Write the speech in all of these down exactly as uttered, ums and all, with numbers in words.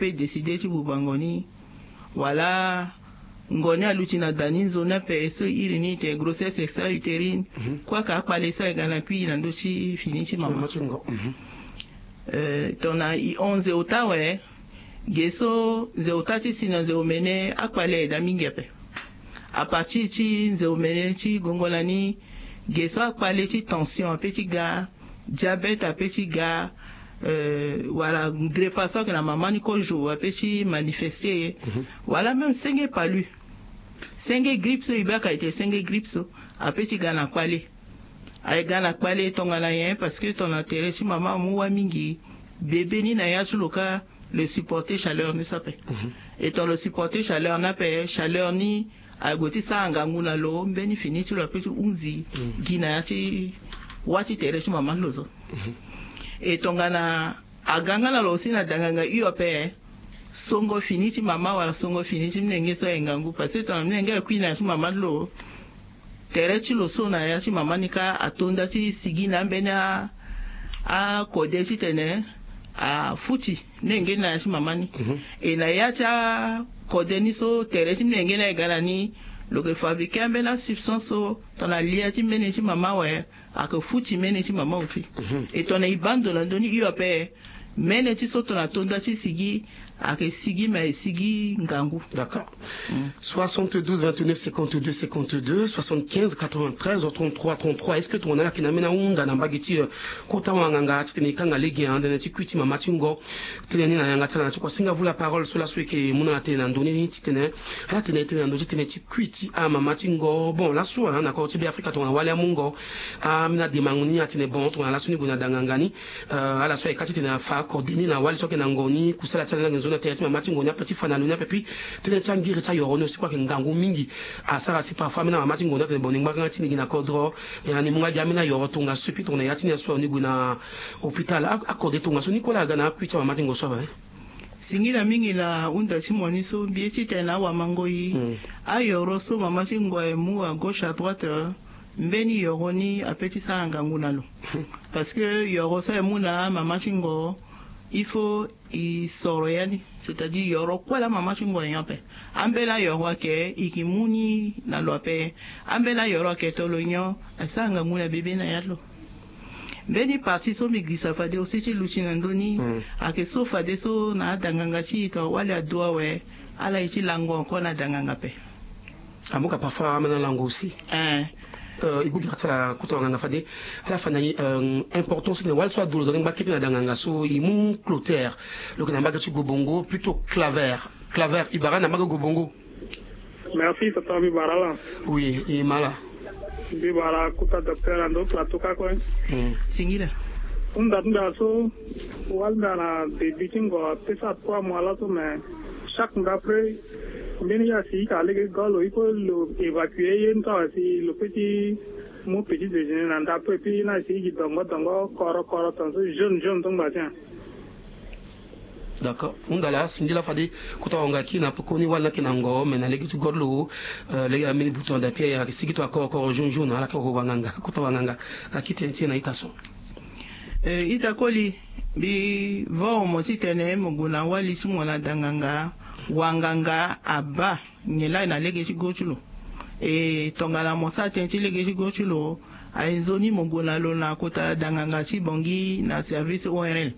e décide ti bubango ni, wala ngoni aluti na da ni nzoni ape so e iri ni ete grossesse extra-utérine. Kue aka akpale so aye ga na kui na ndö ti fini ti mama. Tongana e hon nze ota awe, ge so nze ota ti si na nze omene akpale aye daa mingi ape. A partir ti nze omene ti gongo na ni, ge so akpale ti tension ape ti ga, diabète ape ti ga, wala grepa so ayeke na mama ni kozo ape ti manifeste ye, wala même senge palu, senge gripe so e baka ete senge gripe so ape ti ga na kpale. Aye ga na kpale tongana nyen? Parce que tongana tere ti mama amu wâ mingi, bebe ni na yâ ti lo kâ lo supporter chaleur ni so ape. Et tongana lo supporter chaleur ni ape, chaleur ni aye gue ti sara ngangu na lo, mbeni fini ti lo ape ti hunzi gi na yâ ti wâ ti tere ti mama ti lo so. Et tongana aga nga na lo aussi na danganga hio ape, songo fini ti mama wala songo fini ti minenge so aye ngangu, parce que tongana minenge aye kui na yâ ti mama ti lo, tere ti lo so na yâ ti mama ni kâ ato nda ti sigi na ambeni akode titene afuti minenge ni na yâ ti mama ni. E na yâ ti akode ni so tere ti minenge ni aye ga na ni, lo yeke fabriquer ambeni asubstance so tongana lia ti mbeni ti mama awe, ayeke futi mbeni ti mama aussi. Et tongana e baa ndo na ndö ni hio ape, mbeni ti so tongana to nda ti sigi, ayeke sigi me aye sigi ngangu. D'accord. Soixante-douze vingt-neuf cinquante-deux cinquante-deux, soixante-quinze quatre-vingt-treize trente-trois trente-trois. Est-ce que tongana ala yeke na ambeni ahunda na mbage ti kota wanganga titene e kanga lege na tënë ti kui ti mama ti ngo? Tënë ni na yanga ti ala na ti kua. Singa vous la parole so laso e yeke mu na ala tënë na ndö ni titene ala tene tënë na ndö ti tënë ti kui ti amama ti ngo. Bon, laso na koro ti Beafrika tongana wali amu ngo, ambeni ademango ni atene bon tongana laso ni gue na danganga ni, ala so ayeke kâ titene afa akode ni na wali so ayeke na ngo ni, kusala ti ala ni ayeke nzoni na tere ti mama ti ngo ni ape ti fa na lo ni ape. Puis tënë ti angiri ti ayoro ni aussi kue ayeke ngangu mingi. Asara si parfois ambeni amama ti ngo ni atene bon ni ngbanga ti ni gi na kodro, e na ni mu nga gi ambeni ayoro tongaso. Puis tongana ya ti ni aso ni gue na hôpital, akode tongaso ni kue laa aga na akui ti amama ti ngo so ape. Singila mingi na hunda ti mo ni so, mbi ye titene awamangoi, ayoro so mama ti ngo aye mu à gauche à droite, mbeni yoro ni ape ti sara ngangu na lo. Parce que yoro so aye mu na amama ti ngo, il faut e soro ya ni, c'est-à-dire yoro kue laa mama ti ngo aye nyon ape. Ambeni ayoro ayeke e yeke mu ni na lo ape. Ambeni ayoro ayeke tolo nyon, asara ngangu na bebe na ya ti lo. Mbeni partie so mbi girisa fade aussi ti luti na ndö ni, ayeke so fadeso na adanganga ti e tongana wali adu awe, ala ye ti lango encore na danganga ape. Amu ka parfois ambeni alango aussi. E gbu gira ti ala kota wanganga fade ala fa na e importance titene wali so adu lo daa ni ngba kete na danganga so e mu Clotaire, lo yeke na mbage ti Gobongo, plutôt Claver. Claver, e bara na mbage Gobongo. Merci papa, mbi bara ala. Oui, e ma ala. Mbi bara kota docteur na ndo plateau kâ kue. Singila. Hunda ti mbi ala so, wali mbi ala na début ti ngo apesa trois mois laso, mais chaque nda après mbeni ye asi e yeke na lege ti goro lo, il faut lo évacuer ye ni so awe si lo peut ti mu petit déjeuner na nda après, puis ye ni asi e gi dongo dongo koro koro tongaso, jaune jaune so ngba tien. D'accord. Hunda laa singila fade kota wanganga aki na pekoni wali ni ayeke na ngo, mais na lege ti goro lo, lege ambeni buton da pia ayeke sigi to akoro koro jaune jaune, ala yeke wanganga kota wanganga aki tënë ti e na ita so. Ita koli, mbi voro mo titene mo gue na wali ti mo na danganga, wanganga abaa nyen laa e na lege ti go ti lo. E tongana mo sara tënë ti lege ti go ti lo, aye nzoni mo gue na lo na kota danganga ti Bangui na service O R L.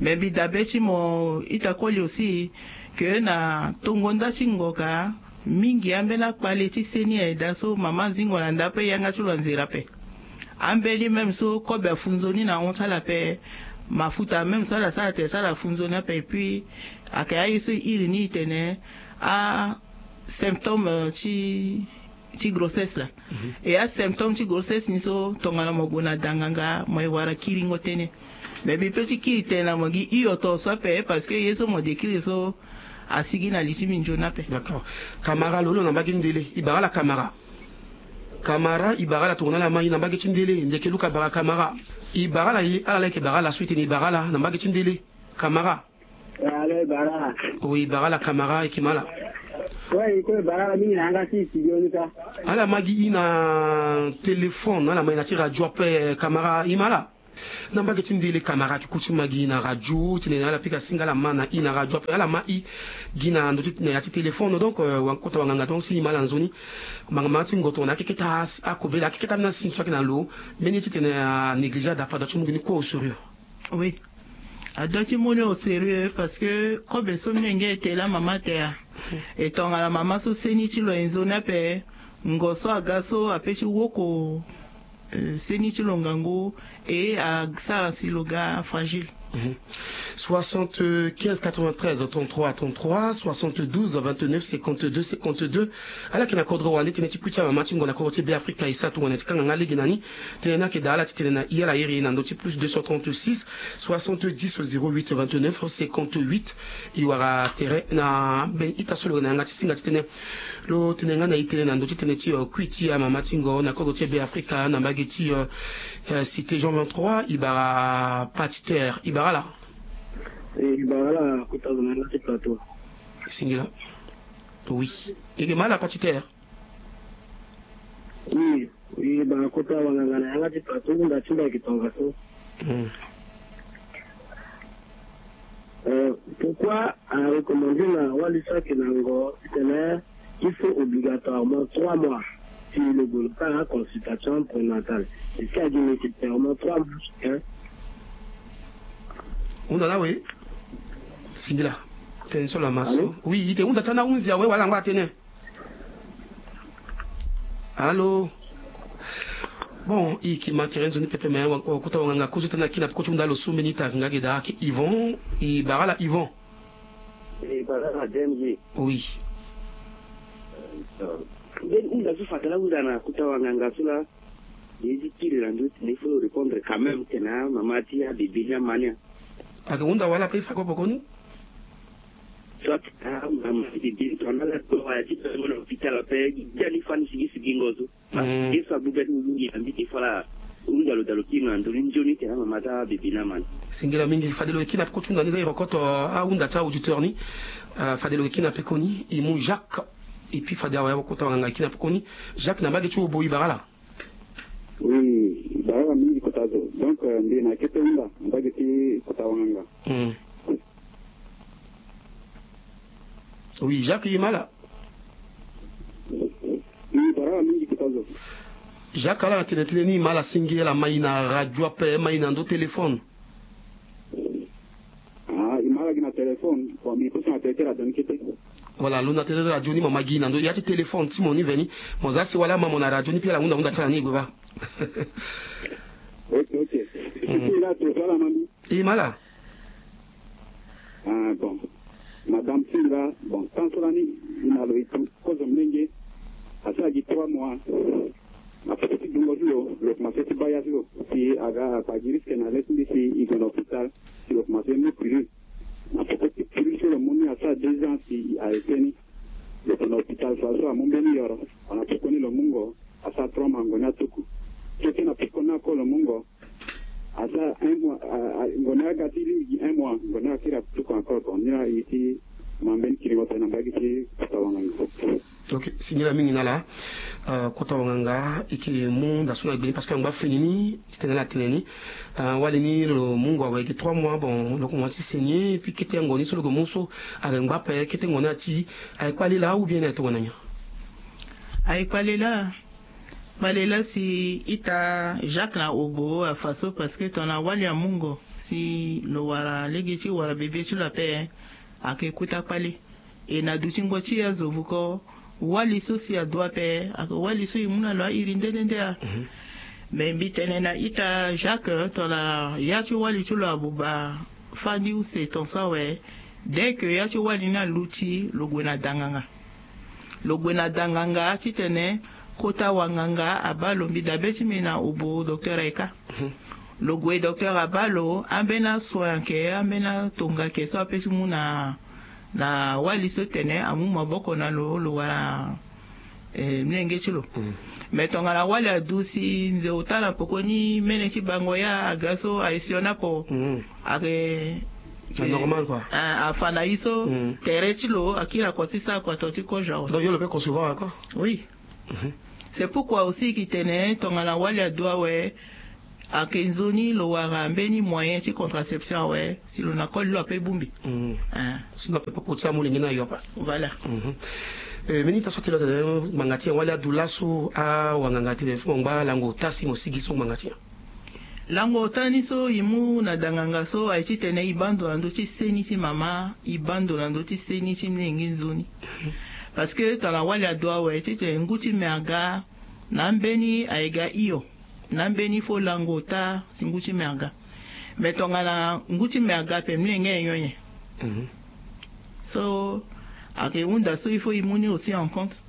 Me mbi dabe ti mo ita koli aussi, ke na tongo nda ti ngoka mingi ambeni akpale ti seni aye daa so mama azingo na nda ape, yanga ti lo anzere ape. Ambeni même so kobe afu nzoni na hon ti ala ape, mafuta même so ala sara tere so ala fu nzoni ape. Et puis ayeke aye so e iri ni e tene asymptôme ti ti grossesse laa. Et asymptôme ti grossesse ni so tongana mo gue na danganga mo ye wara kiringo tënë. Mais mbi peut ti kiri tënë na mo gi hio tongaso ape, parce que ye so mo décrire so asigi na li ti mbi nzoni ape. D'accord. Kamara lo lo na mbage ti ndele, e bara ala kamara? Kamara e bara ala tongana ala ma e na mbage ti ndele, ndeke luka bara kamara? E bara ala, e ala laa e yeke bara ala so e tene e bara ala na mbage ti ndele. Kamara. Alo, e bara ala? Oui, e bara ala kamara, e yeke ma ala. Ouais, e kue e bara ala mingi na yanga ti e studio ni kâ. Ala ma gi e na téléphone, ala ma e na ti radio ape, kamara, e ma ala? Na mbage ti ndele kamara ki ku ti ma gi na radio titene ala pika singa ala ma na i na radio ape ala ma i gi na ndo ti na ya ti téléphone. Donc euh, wa kota wanganga donc ti i ma ala nzoni manga ma ti ngo tongana akeketa akobela akeketa ambeni asingi so ayeke na lo. Mbeni ye titene anéglige adapa ado ti mu gi ni kue au sérieux. Oui. Ado ti mu ni au sérieux parce que kobe so mbi yenge e tela mama tere. E tongana mama so seni ti lo aye nzoni ape ngo so aga so ape ti woko. Eh, seni ti lo ngangu. E asara si lo ga fragile. Soixante-quinze quatre-vingt-treize trente-trois trente-trois, soixante-douze vingt-neuf cinquante-deux cinquante-deux. Ala yeke na kodro wande tënë ti kui ti amama ti ngonda kodro ti Be Afrika e sara tongana ti kanga nga lege na ni. Tënë ni ayeke daa ala titene na i ala iri na ndö ti plus deux cent trente-six soixante-dix zéro huit vingt-neuf cinquante-huit. E wara tere na ambeni ita so lo yeke na yanga ti singa titene lo tene nga na e tënë na ndö ti tënë ti kui ti amama ti ngo na kodro ti Be Afrika na mbage ti cité Jean vingt-trois. E bara patiter e bara ala. E bara ala kota lo na yanga ti plateau. Singila. Oui. E yeke ma ala patiter. Oui. Oui, ba kota wanganga na yanga ti plateau hunda ti mbi ayeke tongaso. Pourquoi a recommandé na wali so ayeke na ngo titene il faut obligatoirement trois mois si lo gue lo sara consultation prénatale? Est-ce que a gi nécessairement trois mois hein? Hunda na we. Singila. Tënë so lama so. Oui, ite hunda ti ana hunzi awe wala ngba tënë. Allô. Bon, i ki ma tere nzoni pepe me kota wanganga kozo tënë na kina peko ti hunda lo so mbeni ita nga ge daa ayeke Yvon. E bara ala Yvon. E bara ala D M G. Oui. Mbeni hunda so fade ala hunda na kota wanganga so laa. Ye ti kiri na ndö ti tene il faut lo répondre quand même tene amama ti abebe ni ama ni. Ayeke hunda wala ape e fa kue pekoni. Soit amama ti bebe ni tongana ala to wala ti pe mo na hôpital ape. Gi ali fani sigi sigingo so. Ye so abu be ti mo mingi na mbi te fala. Hunda lo daa lo kiri na ndö ni nzoni tene amama ti abebe ni ama ni. Singila mingi fade lo yeke kiri na peko ti hunda ni za e rokoto ahunda ti auditeur ni. Fade lo yeke kiri na pekoni e mu Jacques. Et puis fade awe akota wanganga e kiri na pekoni. Jacques na mbage ti obo e bara ala. Oui, e bara ala mingi kota zo. Donc mbi na kete hunda na mbage ti kota wanganga. Oui, Jacques e ma ala. E bara ala mingi kota zo. Jacques ala na tene tënë ni e ma ala singi ala ma e na radio ape ma e na ndö téléphone. Ah, e ma ala gi na téléphone. Bon, mbi pusu na tene ti radio ni kete. Voilà, lo na tene ti radio ni mo ma gi na ndö ya ti téléphone ti mo ni veni. Mo za si wala ama mo na radio ni puis ala hunda hunda ti ala ni e gue baa. Ok, ok. Singila to so ala ma mbi. E ma ala. Ah bon. Madame Singila, bon, tant so lani e na lo e tu kozo molenge. Asara gi trois mois. Na peko ti dungo ti lo, lo komanse ti baa ya ti lo. Si aga akpa gi risque na le ti mbi si e gue na hôpital. Si lo komanse mu pilule. Na peko ti pilule so lo mu ni asara deux ans si e arrêté ni. Lo gue na hôpital fa so amu mbeni yoro. Na pekoni lo mu ngo. Asara trois mois ngo ni atuku. Kete na pekoni ako lo mu ngo. Asara un mois. Ngo ni aga ti lingbi gi un mois ngo ni akiri atuku encore. Bon ni laa e ti ma mbeni kiringo tene na mbage ti kota wanganga. Ok, singila mingi na ala. Kota wanganga e yeke mu nda so na gbe ni parce que angba fini ni titene ala tene ni. Wali ni lo mu ngo awe gi trois mois bon lo komanse ti saigner et puis kete ngo ni so lo gue mu so ayeke ngba ape kete ngo ni ati. Aye kpale laa ou bien ni aye tongana nyen? Aye kpale laa. Kpale laa si ita Jacques na obo afa so parce que tongana wali amu ngo si lo wara lege ti wara bebe ti lo ape. Ayeke kuta kpale. E na dutingo ti azo vuko. Wali so si adu ape ayeke wali so e mu na lo airi nde nde nde a. Me mbi tene na ita Jacques tongana ya ti wali ti lo abuba fandi use ton so awe. Dès que ya ti wali ni aluti lo gue na danganga. Lo gue na danganga titene kota wanganga abaa lo mbi dabe ti mbi na obo docteur ayeka. Lo gue docteur abaa lo ambeni asoin ayeke ambeni atonga ayeke so ape ti mu na na wali so tene amu maboko na lo lo wara. Mlenge ti lo. Mais tongana wali adu si nze ota na poko ni mene ti bango ya aga so aye sioni apo. Ayeke normal koi. Afa na ye so tere ti lo akiri ako ti sara kua to ti kozo awe. Donc yo lo pe concevoir encore. Oui. C'est pourquoi aussi ki tene tongana wali adu awe. Ayeke nzoni lo wara mbeni moyen ti contraception awe si lo na koli lo ape bongbi. Si na pepe poti amolenge na yo apa. Voilà. Mbeni ta so atene atene ngbanga ti nyen wali adu laso awanganga atene fo mo ngba lango ota si mo sigi so ngbanga ti nyen? Lango ota ni so e mu na danganga so aye titene e baa ndo na ndö ti seni ti mama, e baa ndo na ndö ti seni ti mlenge nzoni. Parce que tongana wali adu awe titene ngu ti me aga, na ambeni aye ga hio, na ambeni fo lango ota si ngu ti me aga. Mais tongana ngu ti me aga ape mlenge aye nyon nyen? So ayeke hunda so il faut e mu ni aussi en compte.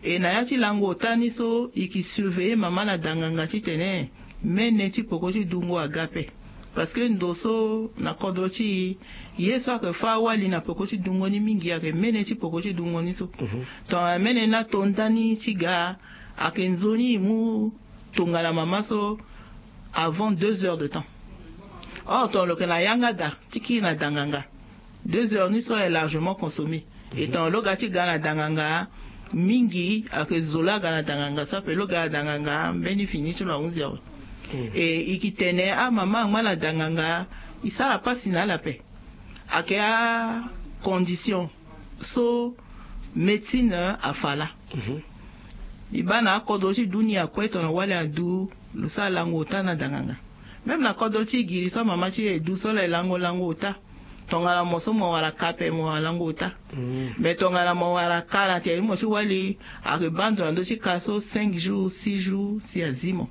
E na ya ti lango ota ni so e ke surveiller mama na danganga titene mene ti peko ti dungo aga ape. Parce que ndo so na kodro ti e, ye so ayeke fâ awali na peko ti dungo ni mingi ayeke mene ti peko ti dungo ni so. Tongana mene ni ato ndani ti ga, ayeke nzoni e mu tongana mama so avant deux heures de temps. Or tongana lo yeke na yanga daa ti kiri na danganga, deux heures ni so est largement consommé. Et tongana lo ga ti ga na danganga mingi, ayeke zo lo aga na danganga so ape lo ga na danganga mbeni fini ti lo ahunzi awe. Et e ke tene amama angba na danganga e sara pasi na ala ape. Ayeke acondition so médecine afa laa. E baa na akodro ti dunia kue tongana wali adu, lo sara lango ota na danganga. Même na kodro ti giri so amama ti e du so ala ye lango lango ota. Tongana mo so mo wara ka ape mo wara lango ota. Mais tongana mo wara ka na tere ti mo ti wali, ayeke baa ndo na ndö ti ka so cinq jours, six jours si azi mo.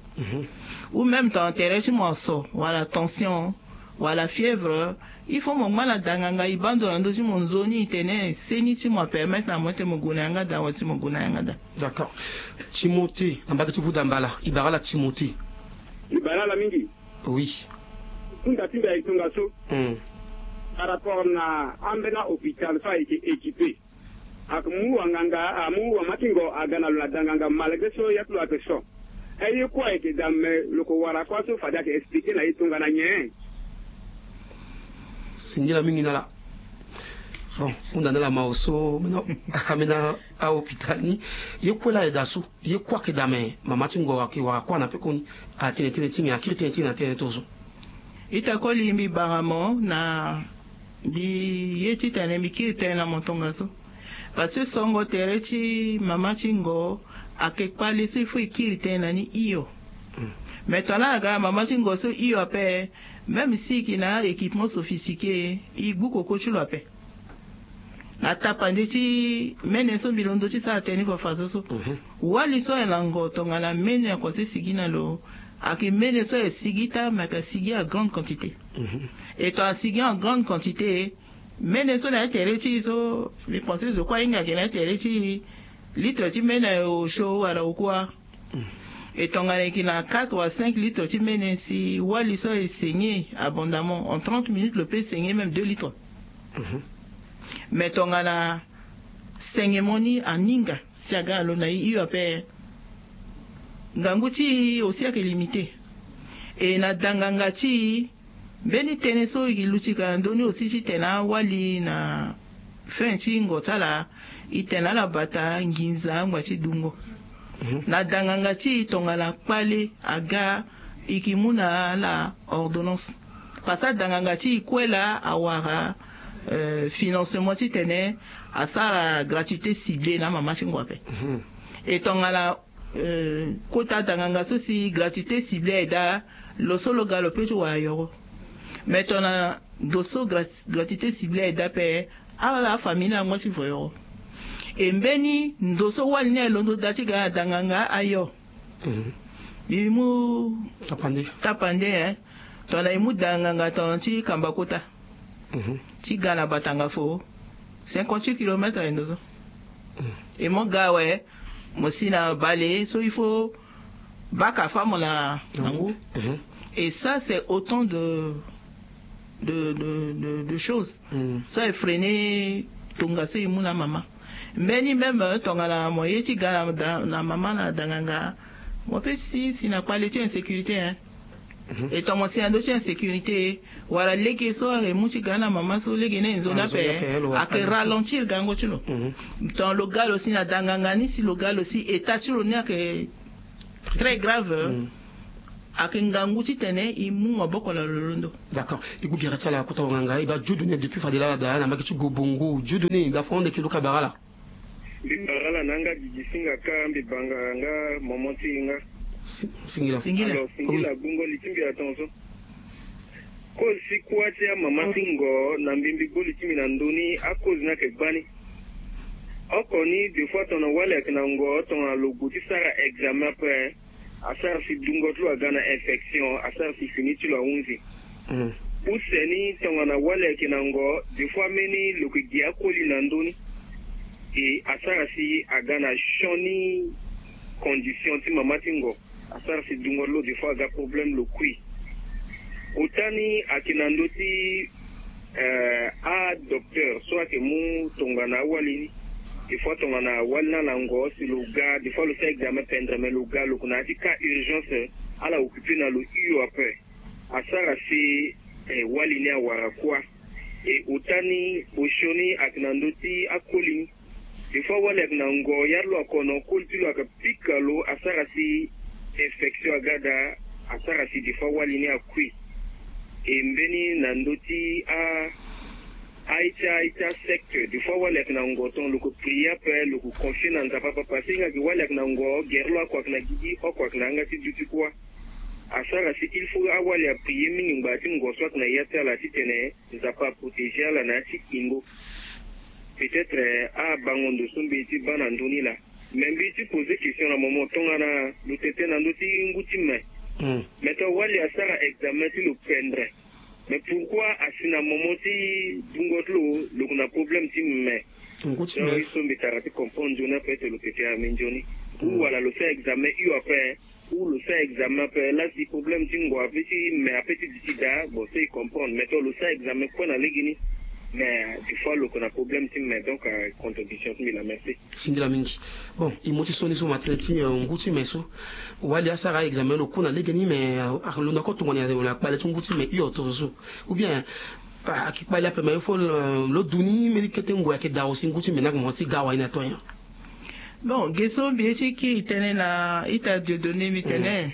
Ou même tongana tere ti mo aso wala tension, wala fièvre, il faut mo ngba na danganga e baa ndo na ndö ti mo nzoni e tene seni ti mo apermettre na mo ti mo gue na yanga daa wala si mo gue na yanga daa. D'accord. Timothée na mbage ti vuda mbala, e bara ala Timothée. E bara ala mingi. Oui. Hunda ti mbi ayeke tongaso. Par rapport na ambeni ahôpital so ayeke équipé. Ake mu wanganga, amu wama ti ngo aga na lo na danganga malgré so ya ti lo ayeke so. E ye kue ayeke daa me lo ko wara kua so fade ayeke expliqué na ye tongana nyen? Singila mingi na ala. Bon, hunda na ala mao so ambeni ahôpital ni. Ye kue laa ayeke daa so, ye kue ayeke daa me mama ti ngo ayeke wara kua na pekoni. Atene tënë ti nyen, akiri tënë ti nyen na tënë ti so? Ita koli mbi bara mo na mbi ye titene mbi kiri tënë na mo tongaso. Parce que songo tere ti mama ti ngo ayeke kpale so il faut e kiri tënë na ni hio. Mais tongana ala ga na mama ti ngo so hio ape, même si e yeke na équipement sophistiqué, e gbu koko ti lo ape. Na tapande ti mene so mbi londo ti sara tënë ni fafaso so. Wali so aye na ngo tongana mene akonse sigi na lo, ayeke mene so aye sigi taa me ayeke sigi en grande quantité. Et tongana asigi en grande quantité, mene so na ya tere ti e so mbi pense zo kue ahinga ayeke na ya tere ti e, litre ti mene aye osio wala okua. Et tongana e yeke na quatre wala cinq litres ti mene, si wali so aye saigner abondamment, en trente minutes lo peut saigner même deux litres. Mais tongana saignement ni aninga si aga na lo na e hio ape, ngangu ti e aussi ayeke limité. Et na danganga ti e, mbeni tënë so e luti ka na ndö ni aussi titene awali na fin ti ngo ti ala, e tene na ala bata nginza angba ti dungo. Na danganga ti e tongana kpale aga, e ke mu na ala ordonnance. Parce que adanganga ti e kue laa awara financement titene asara gratuité ciblée na amama ti ngo ape. E tongana kota danganga so si gratuité ciblée aye daa, lo so lo ga lo peut ti wara yoro. Mais tongana ndo so gratuité ciblée aye daa ape, ala afamille ni angba ti voyoro. E mbeni ndo so wali ni aye londo daa ti ga na danganga ayo. Mbi mu tapande, tapande, hein. Tongana e mu danganga tongana ti kamba kota ti ga na batanga fo, cinquante-huit kilomètres aye ndo so. E mo ga awe, mo si na bale so il faut baka fa mo na ngu. Et ça c'est autant de de de de choses so e freiner tongaso e mu na amama. Mbeni même tongana mo ye ti ga na mama na danganga, mo peut si si na kpale ti insécurité, hein. E tongana mo si na ndö ti insécurité, wala lege so ayeke mu ti ga na mama so lege ni ayeke nzoni ape, ayeke ralentir gango ti lo. Tongana lo ga lo si na danganga ni, si lo ga lo si état ti lo ni ayeke très grave. ayeke ngangu titene e mu maboko na lo londo. D'accord. E gue gere ti ala kota wanganga e baa Dieudonné depuis fade laa ala daa na mbage ti Gobongo. Dieudonné, da fa ande yeke luka bara ala? Mbi bara ala na yanga Didi Singa ka mbi banga nga momo ti e nga. Singila. Singila. Alors, singila gbungo li ti mbi atonso. Kozo ti kuâ ti amama ti ngo na mbimbi gboli ti mbi na ndö ni, akozo ni ayeke gbani. Oko ni des fois tongana wali ayeke na ngo tongana lo gue ti sara examen ape, asara si dungo ti lo aga na infection, asara si fini ti lo ahunzi. Use ni tongana wali ayeke na ngo des fois ambeni lo yeke gi akoli na ndö ni. E asara si aga na sioni condition ti mama ti ngo. Asara si dungo ti lo des fois aga problème lo kui. Ota ni ayeke na ndö ti adocteur so ayeke mu tongana awali ni. Des fois tongana wali ni ala ngo si lo ga des fois lo sara examen pendre mais lo ga lo yeke na ya ti cas urgence, ala occupé na lo hio ape. Asara si wali ni awara kuâ. E ota ni osio ni ayeke na ndö ti akoli ni. Des fois wali ayeke na ngo ya ti lo akono koli ti lo ayeke pika lo asara si infection aga daa. Asara si des fois wali ni akui. E mbeni na ndö ti a a-ita a-ita secte des fois wali ayeke na ngo tongana lo yeke prier ape lo yeke confie na Nzapa papa si hinga gi wali ayeke na ngo gere lo oko ayeke na gigi oko ayeke na yanga ti duti kuâ. Asara si il faut awali aprier mingi ngbanga ti ngo so ayeke na ya ti ala titene Nzapa aprotégé ala na ya ti kingo. Peut-être abango ndo so mbi ye ti baa na ndö ni laa. Mais mbi ye ti poser question na momo tongana lo tene tene na ndö ti ngu ti me. Mais tongana wali asara examen ti lo pendre. Mais pourquoi asi na momo ti dungo ti lo lo yeke na problème ti me? Ngu ti me. Donc ye so mbi tara ti comprendre nzoni ape ti lo tene tene na mbi nzoni. Ou wala lo sara examen hio ape. Ou lo sara examen ape la si problème ti ngo ape ti me ape ti duti daa bon so e comprendre mais tongana lo sara examen kue na legeni. Mais des fois lo yeke na problème ti me donc contradiction ti mbi laa. Merci. Singila mingi. Bon e mu ti so ni so ma tënë ti ngu ti me so. Wali asara examen lo ku na legeni mais alondo ako tongana akpale ti ngu ti me hio tongaso. Ou bien ayeke kpale ape mais il faut lo du ni mbeni kete ngoi ayeke daa aussi ngu ti me ni ayeke mo ti ga wa ye na to nyen? Bon ge so mbi ye ti kiri tënë na ita Dieudonné mbi tene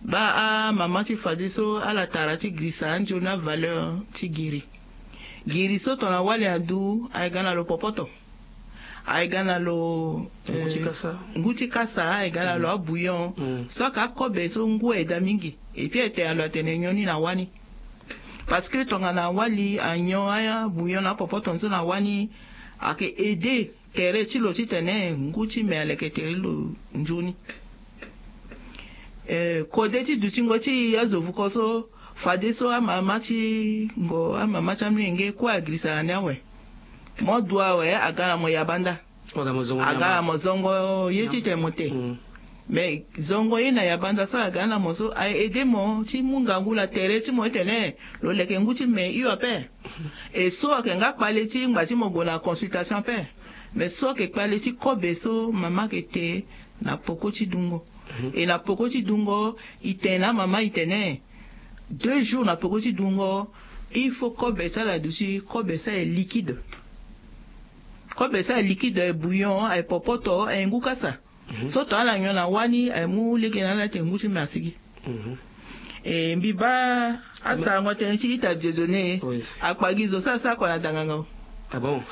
baa amama ti fadeso ala tara ti girisa anzoni avaleur ti giri. Giri so tongana wali adu aye ga na lo popoto. Aye ga na lo ngu ti kasa aye ga na lo abouillon. So ayeke akobe so ngu aye daa mingi. Epui aye tene na lo atene nyon ni na wâ ni. Parce que tongana wali anyon abouillon na apopoto ni so na wâ ni ayeke aider tere ti lo titene ngu ti me aleke tere ti lo nzoni. Kode ti dutingo ti e azo vuko so fadeso amama ti ngo amama ti amolenge kue agirisa na ni awe. Mo du awe aga na mo yabanda. Aga na mo zongo ye ti tene mo te. Mais zongo ye na yabanda so aga na mo so aye aider mo ti mu ngangu na tere ti mo ti tene lo leke ngu ti me hio ape. E so ayeke nga kpale ti ngba ti mo gue na consultation ape. Mais so ayeke kpale ti kobe so mama ayeke te na poko ti dungo. E na poko ti dungo e tene na amama e tene deux jours na poko ti dungo. Il faut kobe ti ala aduti kobe so aye liquide. Kobe so aye liquide aye bouillon aye popoto aye ngu kasa. So tongana ala nyon na wâ ni aye mu lege na ala ti ngu ti me asigi. E mbi baa asarango tënë ti ita Dieudonné. Akpa gi zo so asara kua na danganga o. Ah bon?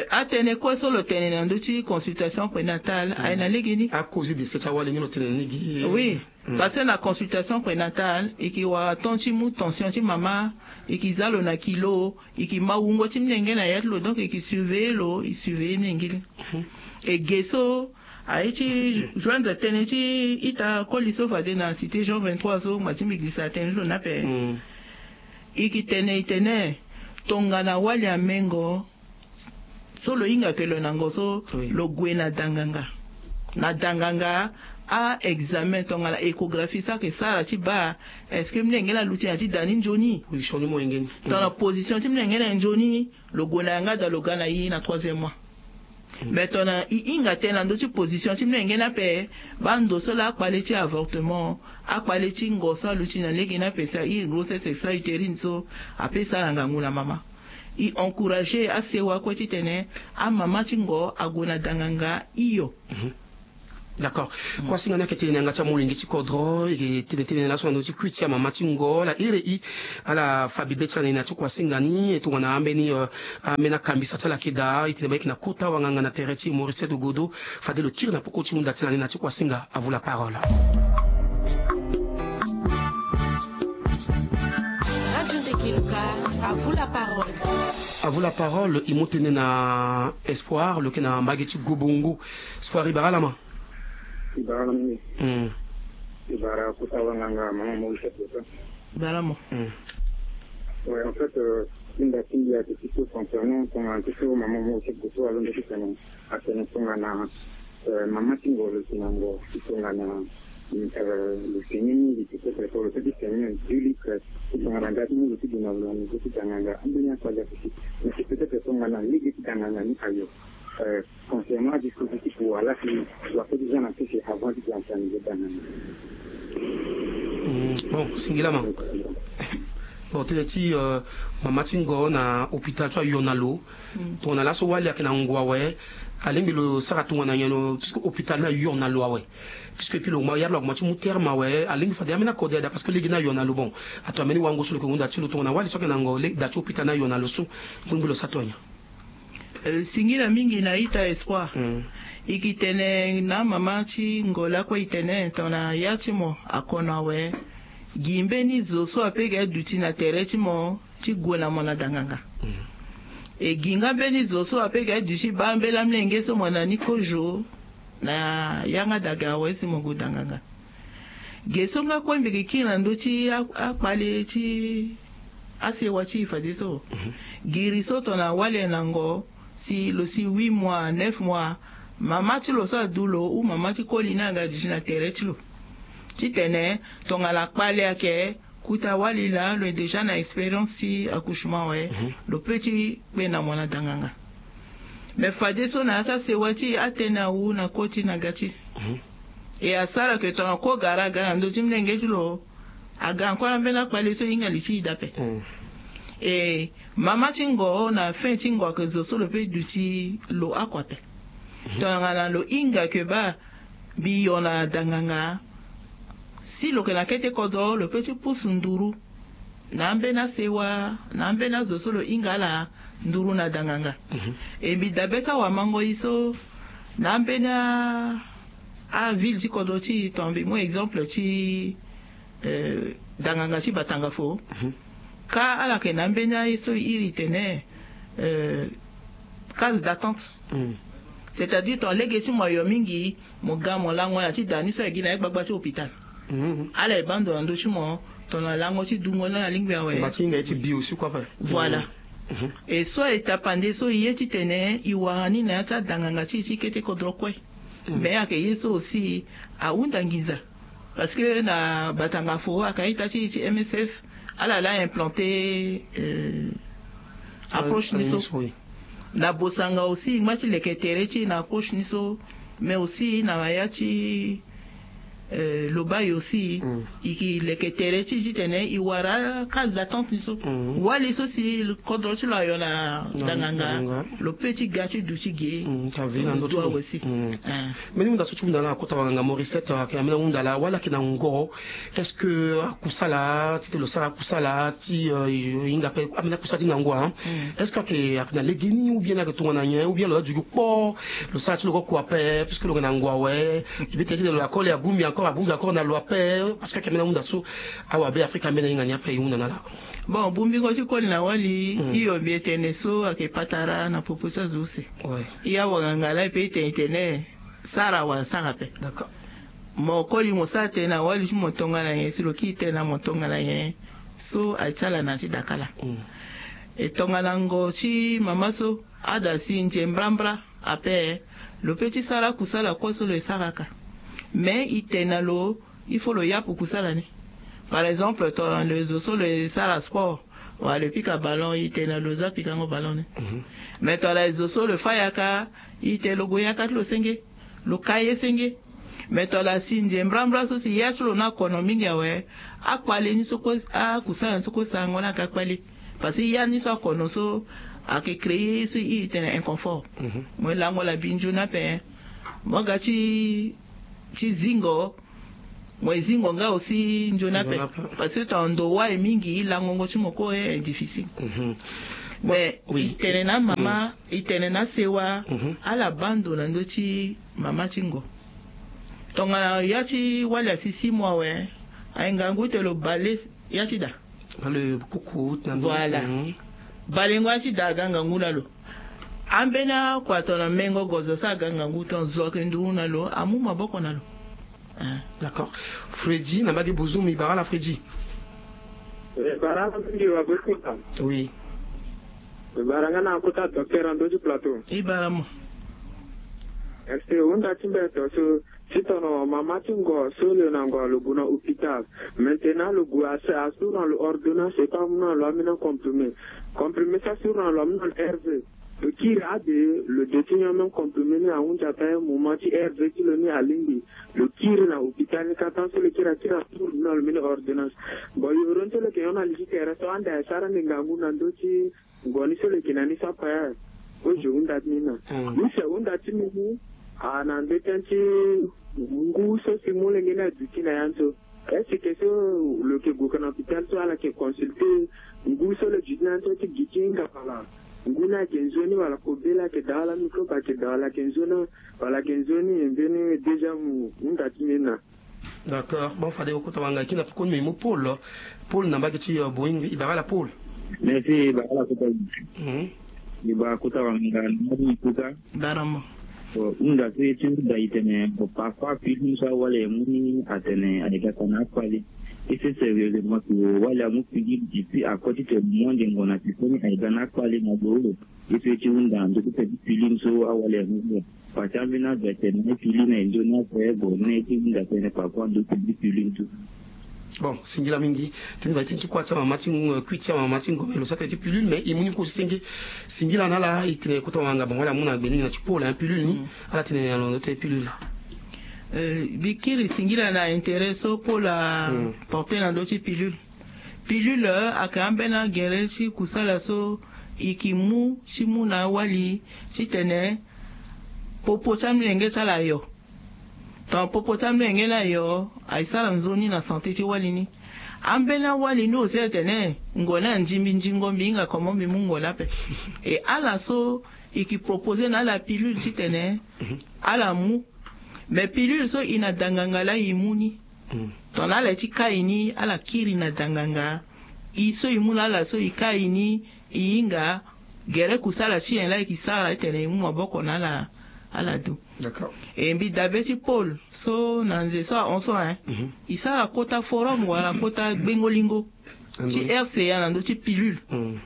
Atënë kue so lo tene na ndö ti consultation prénatale aye na legeni. Akozi de se ti awali ni lo tene na ni gi. Oui. Parce que na consultation prénatale e ke wara temps ti mu tension ti mama. E ke za lo na kilo. E ke ma wungo ti molenge na ya ti lo donc e ke surveiller lo e surveiller molenge ti. E ge so aye ti joindre tënë ti ita koli so fade na cité jean vingt-trois so ngba ti mbi girisa tënë ti lo ni ape. E ke tene e tene tongana wali amengo so lo hinga ke lo na ngo so lo gue na danganga. Na danganga a examen tongana échographie so ayeke sara ti baa est-ce que molenge ni aluti na ti da ni nzoni? Tongana position ti molenge ni aye nzoni lo gue na yanga daa lo ga na e na troisième mois. Mais tongana e hinga tënë na ndö ti position ti molenge ni ape baa ndo so laa akpale ti avortement akpale ti ngo so aluti na lege ni ape sa iri grossesse extra utérine so ape sara ngangu na mama. E encourager asewa kue titene amama ti ngo ague na danganga hio. D'accord. Kuasinga ni ayeke tene na yanga ti amolenge ti kodro, e tene tene na laso na ndö ti kui ti amama ti ngo ala iri e, ala fa bibe ti ala na e na ti kuasinga ni. E tongana ambeni ambeni akambisa ti ala ayeke daa, e tene ba yeke na kota wanganga na tere ti Maurice Edo Godo. Fade lo kiri na poko ti hunda ti ala ni na ti kuasinga. À vous la parole. Radio Ndekiluka, à vous la parole. À vous la parole, e mu tënë na Espoir, lo yeke na mbage ti Gobongo. Espoir, e bara ala ma. E bara ala mingi. Mm. E bara kota wanganga, mama Maurice Edo. Bara mo. Mm. Ouais, en fait, euh, ti nda ti mbi ayeke ti so concernant tongana ti so mama Maurice Edo so alondo ti tene. Atene tongana, euh, mama ti ngo lo si na ngo ti tongana, euh, lo seni mingi ti so tene so lo so ti seni deux litres ti tongana nga ti mu lo ti gue na lo na niveau ti danganga, ambeni akpali ape si. Mais si peut-être tongana lege ti danganga ni ayo, euh, concernant adispositif wala si lo ape ti za na sese avant ti gue na niveau danganga. Mm, bon, singila ma. Bon, tënë ti, euh, mama ti ngo na hôpital so ayo na lo. Mm. Tongana laso wali ayeke na ngo awe, alingbi lo sara tongana nyen lo, puisque hôpital ni ayo na lo awe. Puisque epui lo ma yara lo akoma ti mu terme awe, alingbi fade ambeni akode ada, parce que lege ni ayo na lo. Bon, ato ambeni wango so lo yeke hunda ti lo tongana wali so ayeke na ngo, le da ti hôpital ni ayo na lo so, alingbi lo sara tongana nyen? Euh, singila mingi na ita Espoir. Mm. E ke tene na mama ti ngo lakue e tene tongana ya ti mo akono awe, gi mbeni zo so ape ga duti na tere ti mo ti gue na mo na danganga. Mm. E gi nga mbeni zo so ape ga duti baa mbela mlenge so mo na ni kozo na yanga daga awe si mo gue danganga. Ge so nga kue mbi ke kiri na ndö ti a, akpale ti asewa ti e fadeso. Mhm. Giri so tongana wali ayeke na ngo si lo si huit mois, neuf mois, mama ti lo so adu lo ou mama ti koli ni aga duti na tere ti lo. Titene tongana kpale ayeke, kota wali laa lo yeke déjà na expérience ti accouchement awe, mhm, lo peut ti kpe na mo na danganga. Mais fadeso na ya ti asewa ti e atene awu na koti na ga ti e. Mhm. E asara ke tongana kue gara aga na ndö ti mlenge ti lo, aga encore ambeni akpale so e hinga li ti e daa ape. Mm. E mama ti ngo na fin ti ngo ayeke zo so lo peut duti lo oko ape. Mhm. Tongana lo hinga ke baa mbi yo na danganga, si lo yeke na kete kodro lo peut ti pusu nduru na ambeni asewa, na ambeni azo so lo hinga ala nduru na danganga. Mhm. E mbi dabe ti awamango e so na ambeni a, aville ti kodro ti e, tongana mbi mu exemple ti, euh, danganga ti Batangafo. Mhm. Ka ala yeke na ambeni aye so e iri tene, euh, case d'attente. Mm. C'est-à-dire tongana lege ti mo ayo mingi, mo ga mo lango na ti da ni so aye gi na ya gbagba ti hôpital. Mhm. Ala ye baa ndo na ndö ti mo, tongana lango ti dungo ni alingbi awe. Mba ti hinga ye ti bi aussi kue ape. Voilà. Mhm. E so aye tapande so e ye titene e wara ni na ya ti adanganga ti e ti kete kodro kue. Mm. Mais ayeke ye so aussi ahunda nginza. Parce que na Batangafo ayeke a-ita ti e ti M S F, ala laa implanter, euh, approche ni so. Na Bosanga aussi e ngba ti leke tere ti e na approche ni so, mais aussi na ya ti, euh, Lobaye aussi, mm, e ke leke tere ti e titene e wara case d'attente ni so. Mm. Wali so si kodro ti lo ayo na danganga, lo peut ti ga ti duti ge. Mm, ta vie na ndo ti lo. Mm. Ah. Mbeni hunda so ti hunda na kota wanganga Maurice, ayeke na mbeni hunda laa, wala ayeke na ngo, est-ce que akusala ti tene lo sara akusala ti, euh, e hinga ape ambeni akusala ti ngangu, hein? Mm. Est-ce que ayeke, ayeke na legeni ou bien ayeke tongana nyen, ou bien lo la dugu kpo, lo sara ti lo kue kua ape, puisque lo yeke na ngu awe, e peut ti tene lo la koli abongbi encore, abongbi encore na lo ape, parce que ayeke ambeni ahunda so awabe Afrika ambeni ahinga ni ape e hunda na ala. Bon, bongbingo ti koli na wali, mm, hio mbi e tene so ayeke patara na popo ti azo use. Ouais. E awanganga laa e peut ti tene e tene sara wala sara ape. D'accord. Mo koli mo sara tënë na wali ti mo tongana nyen, si lo kiri tënë na mo tongana nyen, so aye ti ala na ya ti dakala. Mm. E tongana ngo ti mama so, ada si nze mbrambra ape, lo peut ti sara akusala kue so lo ye sara aka. Mais e tene na lo, il faut lo yapu kusala ni. Par exemple, tongana lo ye zo so lo ye sara sport, wala lo pika ballon, e tene na lo za pikango ballon ni. Mhm. Mais tongana lo ye zo so lo fâ yaka, e tene lo gue yaka ti lo senge, lo ka ye senge. Mais tongana si nze mbrambra so si ya ti lo ni akono mingi awe, akpale ni so kue, akusala ni so kue sarango ni ayeke akpale. Parce que ya ni so akono so ayeke créer ye so e iri tene inconfort. Mhm. Mo ye lango la binzo ni ape. Mo ga ti ti zingo. Mo e zingo nga aussi nzoni ape. Parce que tongana ndo wâ e mingi, langongo ti mo kue est difficile. Mais e tene na amama, e tene na asewa, ala baa ndo na ndö ti mama ti ngo. Tongana yâ ti wali asi six mois awe, aye ngangu ti tene lo bale yâ ti da. Bale kuku na ndo. Voilà. Balengo yâ ti da aga ngangu na lo. Ambeni akua tongana mengo gozo so aga ngangu, tongana zo ayeke nduru na lo, amu maboko na lo. D'accord. Freddy na mbage Bouzoum, e bara ala Freddy? E bara ala mingi wa be kota. Oui. E bara nga na kota docteur na ndö ti plateau. E bara mo. Est-ce que hunda ti mbeto so, si tongana mama ti ngo so lo na ngo lo gue na hôpital, maintenant lo gue a, asuru na lo ordonnance, e pas amu na lo ambeni comprimé. Comprimé so asuru na lo amu na lo R V. Lo kiri ade, lo de ti nyon même comprimé ni ahunzi ape, moment ti R V ti lo ni alingbi. Lo kiri na hôpital ni kâ, tant so lo kiri akiri asuru na lo mbeni ordonnance. Bon, yoro ni so lo yeke nyon na li ti tere so ande asara ande ngangu na ndö ti ngo ni so lo yeke na ni so ape. Kozo hunda ti ni na. Ni si ahunda ti ni ni, a na ndö tënë ti ngu so si molenge ni aduti na yâ ni so. Est-ce que so lo yeke gue ka na hôpital so ala yeke consulter ngu so lo duti na yâ ni so ti gi ti hinga wala ngu ni ayeke nzoni wala kobela ayeke daa wala microbe ayeke daa wala ayeke nzoni wala ayeke nzoni, mbeni deuxième hunda ti ni na. D'accord. Bon, fade e kota wanga, e kiri na pekoni me e mu Paul. Paul na mbage ti, euh, Boeing, e bara ala Paul? Merci, e bara ala kota. Mhm. E bara kota wanga, na mbage ti kota. Bara mo. Bon, hunda so e ti hunda e tene, bon, parfois pilule so awali aye mu ni atene aye ga ka na akpale. Est-ce que sérieusement si wali amu pilule depuis akua ti tene mo ande ngo na pekoni aye ga na akpale na lo? Est-ce que e ti hunda na ndö ti tene pilule so awali amu ni? Parce que ambeni ado atene na pilule na e nzoni ape, bon, ni e ti hunda tënë parfois ndö ti pilule so. Bon, singila mingi. Tënë baa tënë ti kuâ ti amama ti, euh, kui ti amama ti ngo, mais lo sara tënë ti pilule, mais e mu ni kue ti senge. Singila na ala, e tene kota wanga, bon, wala amu na gbe ni na ti Paul, hein, pilule ni. Mm. Ala tene na lo ndö ti pilule. Euh, mbi kiri singila na intérêt so Paul aporte na ndö ti pilule. Pilule, euh, ayeke ambeni agere ti kusala so e ke mu ti mu na awali titene popo ti amolenge ti ala ayo. Tongana popo ti amolenge ni ayo, aye sara nzoni na santé ti wali ni. Ambeni awali ni aussi atene ngo ni anzi mbi, nzingo mbi hinga comment mbi mu ngo ni ape. E ala so e ke proposer na ala pilule titene ala mu. Mais pilule so e na danganga laa e mu ni. Tongana ala ye ti kai ni, ala kiri na danganga. E so e mu na ala so e kai ni, e hinga gere kusala ti nyen laa e ke sara titene e mu maboko na ala, ala du. D'accord. E mbi dabe ti Paul so na nze so ahon so, hein. Mhm. E sara kota forum wala kota gbengo-lingo ti R C A na ndö ti pilule. Mhm.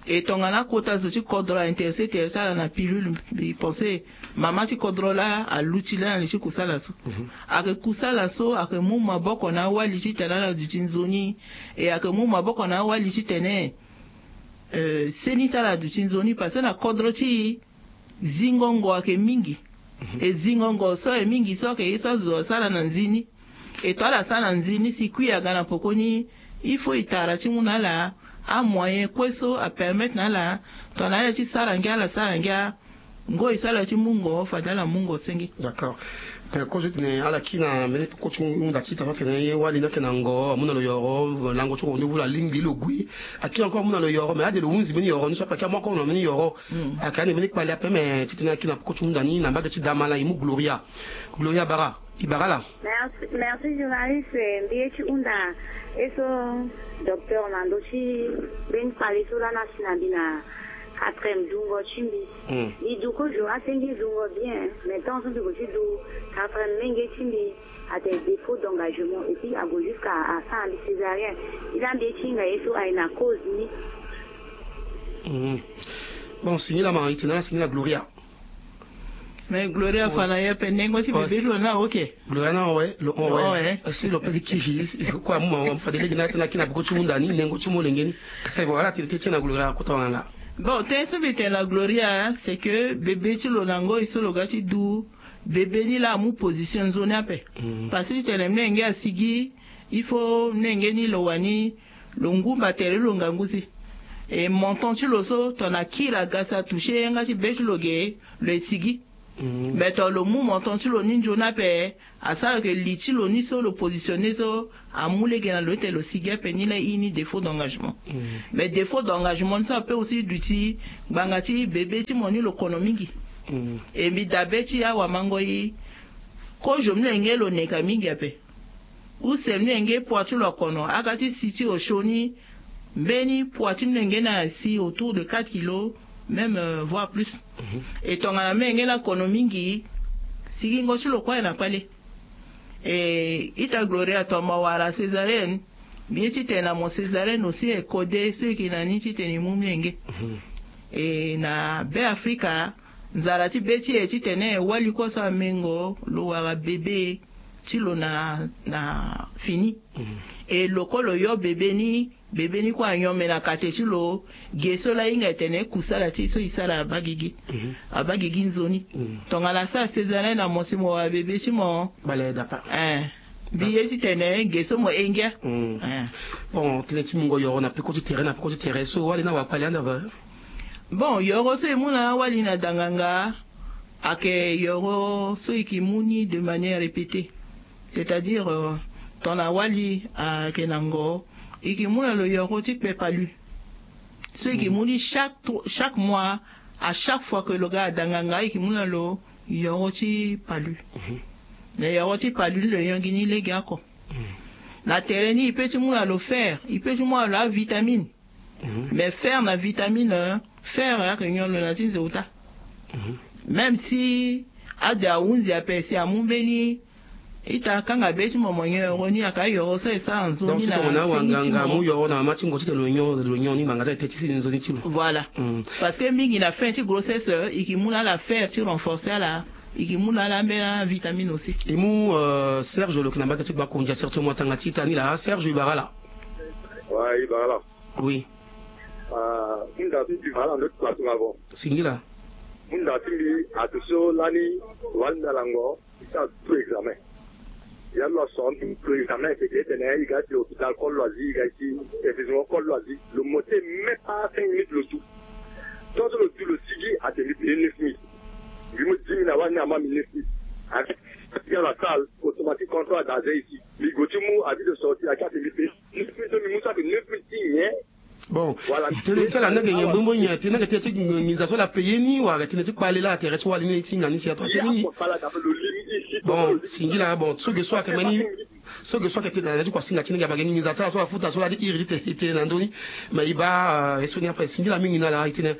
E tongana akota zo ti kodro a-intéressé ti sara na pilule, mbi pense mama ti kodro laa aluti laa na li ti kusala so. Mhm. Ayeke kusala so ayeke mu maboko na awali titene ala duti nzoni. E ayeke mu maboko na awali titene, euh, seni ti ala aduti nzoni, parce que na kodro ti e, zingo ngo ayeke mingi. Mhm. E zingo ngo so ayeke mingi so ayeke ye so azo asara na nzoni. E tongana ala sara na nzoni, si kui aga na poko ni, il faut e tara ti mu na ala amoyen kue so apermettre na ala, tongana ala ye ti sara ngia, ala sara ngia. Ngoi so ala ye ti mu ngo, fade ala mu ngo senge. D'accord. Mais kozo ti tene ala kiri na mbeni peko ti hunda ti tene ye wali ni ayeke na ngo, amu na lo yoro, lango ti rendez-vous, lo alingbi lo gue. Akiri encore amu na lo yoro, mais ade lo hunzi mbeni yoro ni so ape, akiri amu encore na mbeni yoro. Mm. Ayeke ande mbeni kpale ape, mais titene akiri na peko ti hunda ni na mbage ti Damala, e mu Gloria. Gloria bara, e bara ala. Merci, merci journaliste. Mbi ye ti hunda ye so docteur na ndö ti mbeni kpale so lani asi na mbi na quatrième dungo ti mbi. Mm. Mbi du kozo asenge dungo bien, mais tant so mbi gue ti du quatrième, menge ti mbi atene défaut d'engagement, et puis ague jusqu'à asara mbi césarienne. Ila mbi ye ti hinga ye so aye na cause ni. Mhm. Bon, singila ma, e tene ala singila Gloria. Mais Gloria, ouais, fa na ye ape, nengo ti bebe ti lo na oke. Gloria na, ouais, lo hon, ouais. Lo hon, ouais. Si lo pe ti kiri, si, kue amu ma, fade lege na tene akiri na peko ti hunda ni, nengo ti molenge ni. Bon, ala tene teti na Gloria, kota wanga. Bon, tënë so mbi tene na Gloria, c'est que bebe ti lo na ngoi so lo ga ti du, bebe ni laa amu position nzoni ape. Mhm. Parce que titene mlenge asigi, il faut mlenge ni lo wani lo ngumba tere lo ngangu si. E menton ti lo so, tongana kiri aga si atoucher yanga ti be ti lo ge, lo e sigi. Mais to lo mu montant ti lo ni nzoni ape, asara ke li ti lo ni so lo positionner so amu lege na lo ete lo sigi ape ni la, i ni défaut d'engagement. Mais défaut d'engagement ni so ape aussi duti ngbanga ti bébé ti mo ni lo kono mingi. E mbi dabe ti awamangoi, kozo mlenge lo neka mingi ape. Use mlenge poids ti lo akono, aga ti si ti osio ni, mbeni poids ti mlenge ni asi autour de quatre kilos, même euh, voire plus. E tongana mlenge ni akono mingi, sigingo ti lo kue na kpale. E ita Gloria, to mo wara césarienne, mbi ye titene na mo césarienne aussi e kode so e yeke na ni titene e mu mlenge. E na Be Afrika, nzara ti be ti e titene wali kue so amengo lo wara bébé ti lo na na fini. E lo kue lo yo bébé ni, bébé ni kue anyon me na kate ti lo. Ge so la hinga e tene kusala ti e so e sara abaa gigi, abaa gigi nzoni. Tongana asara césarienne na mo si mo wara bébé ti mo, bale dapa. Eh. Mbi ye titene ge so mo engia. Eh. Bon, tënë ti mungo yoro na peko ti tere na peko ti tere so wali ni awakpali ande ape. Bon, yoro so e mu na awali na danganga, ayeke yoro so e ke mu ni de manière répétée. C'est-à-dire euh, tongana wali ayeke na ngo, e ke mu na lo yoro ti kpe palu. So e ke mu ni chaque tro- chaque mois, à chaque fois que lo ga na danganga, e ke mu na lo yoro ti palu. Na yoro ti palu ni lo yongi ni lege oko. Na tere ni e pe ti mu na lo fer, e pe ti mu na lo avitamine. Mais fer na vitamine, fer ayeke nyon lo na ti nze uta. Même si ade ahunzi ape si amu mbeni ita kanga be ti mo mo nyon yoro ni, ayeke ayoro so e sara nzoni na seni ti mo. Donc si tongana awanganga amu yoro na mama ti ngo titene lo nyon, lo nyon ni ngbanga ti ayeke ti seni nzoni ti lo. Voilà. Parce que mingi na fin ti grossesse e ke mu na ala fer ti renforcer ala, e ke mu na ala ambeni avitamine aussi. E mu euh, Serge lo yeke na mbage ti gbakondia, certainement atanga ti ita ni laa. Serge, e bara ala? Ouais, e bara ala. Oui. Ah, hunda ti mbi wala ndo ti kpasura vo. Singila. Hunda ti mbi atu so lani wala mbi ala ngo, i sara tout examen. Ya lo aso mbi tout examen, teke tene i ga ti hôpital, kol lo azi, i ga ti établissement, kol lo azi. Lo mo te même pas cinq minutes lo tu. Tant so lo tu lo sigi, ate mbi paye neuf mille. Mbi mo dix mille na wani ama mbi neuf mille. Avec la salle automatique, quand on a gazé ici. Mbi go ti mu avis de sortie, ake ate mbi paye neuf mille, so mbi mu so ake neuf mille ti nyen. Bon, tënë ti ala ni ayeke nyen? Bongbo nyen? Tënë ni ayeke tënë ti nginza so ala paye ni, wala tënë ti kpale la? Tere ti wali ni ti hinga ni si ato atënë ni. Bon, singila. Bon, so ge so ayeke mbeni, so ge so ayeke tënë na ya ti kuasinga ti ni, ga ma ge nginza ti ala so afuta so la ti iri ti tene e tene na ndö ni. Mais e baa euh, ye so ni ape. Singila mingi na ala, e tene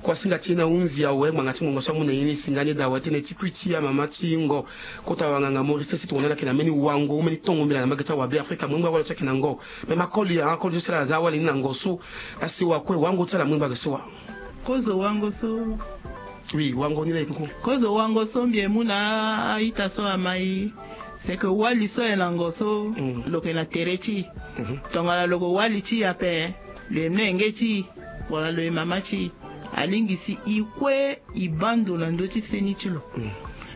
kuasinga ti e ni ahunzi awe, ngbanga ti ngongo so amu na e ni, e singa ni daa awe, tënë ti kui ti amama ti ngo. Kota wanganga Maurice, si tongana ala yeke na mbeni wango, mbeni tongo mbela na mbage ti awabe Afrika, mo ngba wala so ayeke na ngo. Mais ma koli, ah, koli so si ala za awali ni na ngo so, asewa kue, wango ti ala mu ngba ge so wa? Kozo wango so. Oui, wango ni la e kuku. Kozo wango so mbi e mu na a-ita so ama e, c'est que wali so ayeke na ngo so, lo yeke na tere ti e. Tongana lo yeke wali ti e ape, lo ye mlenge ti e, wala lo ye mama ti e, alingbi si e kue e baa ndo na ndö ti seni ti lo.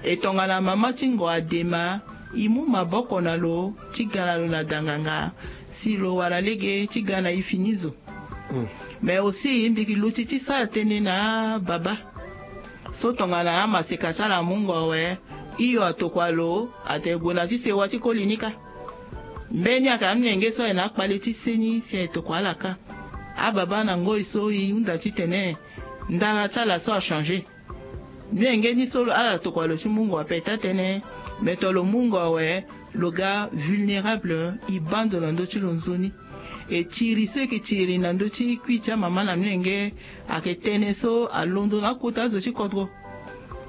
E tongana mama ti ngo adema, e mu maboko na lo ti ga na lo na danganga, si lo wara lege ti ga na e fini zo. Mais aussi mbi yeke luti ti sara tënë na ababa. So tongana amaseka ti ala amu ngo awe, hio atokua lo, atene gue na ti sewa ti koli ni kâ. Mbeni ayeke amolenge so aye na akpale ti seni si aye tokua ala kâ. Ababa na ngoi so e hunda titene ndara ti ala so achanger. Mlenge ni so ala tokua lo ti mu ngo ape taa tënë, mais to lo mu ngo awe, lo ga vulnérable, e baa ndo na ndö ti lo nzoni. E tiri so e yeke tiri na ndö ti kui ti amama na mlenge, ayeke tënë so alondo na akota azo ti kodro.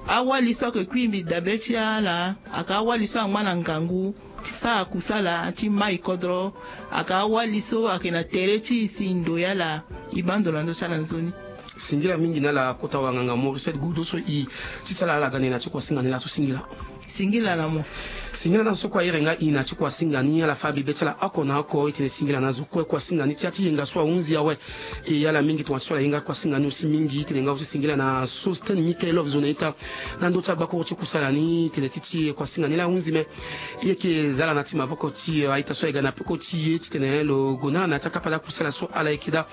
Awali so ayeke kui mbi dabe ti ala, ayeke awali so angba na ngangu ti sara kusala ti mai kodro. Ayeke awali so ayeke na tere ti e si e ndoye ala, e baa ndo na ndö ti ala nzoni. Singila mingi na ala kota wanganga Maurice Godo so e ti sala ala gande na ti kuasinga ni laso, singila. Singila na mo. Singila na zo kue ahere nga i na ti kuasinga ni ala fâ bibe ti ala oko na oko. I tene singila na zo kue kuasinga ni ti ya ti yenga so ahunzi awe. E ala mingi tongana ti so ala ye nga kuasinga ni aussi mingi i tene nga aussi singila na Sosten Michael Love zo na ita na ndö ti agbakuru ti kusala ni i tene ti ti kuasinga ni laa ahunzi me. I yeke za ala na ti maboko ti aita so aye ga na peko ti e ti tene lo gue na ala na ya ti akapa daa kusala so ala yeke daa.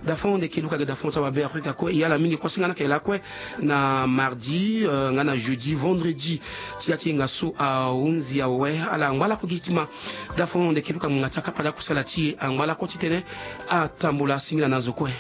Dafon ndeke luka ge dafon ti awabe Afrika kue e ala mingi kuasinga ni ayeke lakue na mardi nga na jeudi vendredi ti ya ti yenga so ahunzi awe. Ala ngba lakue gi ti ma dafon ndeke luka ngbanga ti akapa daa kusala ti e angba lakue ti tene atambula singila na zo kue.